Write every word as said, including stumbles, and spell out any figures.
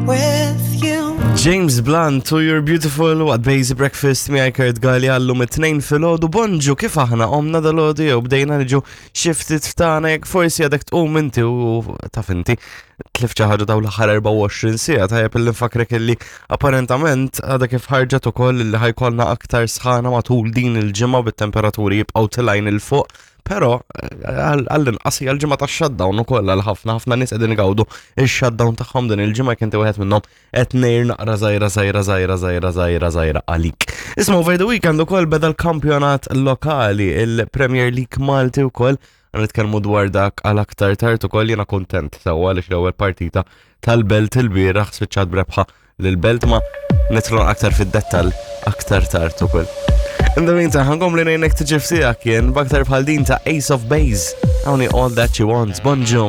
with you. James Blunt to You're Beautiful waqt Basic Breakfast miegħi Kurt Galli għallum it-tnejn filgħodu. Bonġu, kif aħna qomna dalgħodu jew bdejna niġu xiftit ftana jekk forsi għadek tqum inti u taf inti tlift xi ħaġa dawn l-aħħar erbgħa u għoxrin siegħa. Tajjeb illi nfakrek illi apparentament għadha kif ħarġet ukoll illi ħa jkollna aktar sħana matul din il-ġimgħa bit-temperaturi jibqgħu telgħin 'il fuq. Pero għall-inqas hija l-ġimgħa tax-shutdown ukoll għal ħafna ħafna nies qegħdin igawdu ix-shutdown tagħhom din il-ġimgħa. Jekk inti wieħed minnhom, qed ngħir naqra żgħira żgħira żgħira żgħira żgħira żgħira għalik. Isma', over the weekend ukoll beda l-kampjonat lokali, il-Premier League Malti wkoll. Nitkellmu dwar dak għal aktar tard ukoll. Jiena kontent sewwa għaliex l-ewwel partita tal-Belt il-bieraħ spiċċat brebħa lil-Belt, ma nidħlu aktar fid-dettall aktar tard ukoll. In the meantime, ħa nkompli ngħinek tiġi f'tiegħek jien b'aktar bħal din ta' Ace of Base. Hawn All That She Wants. Bonġu.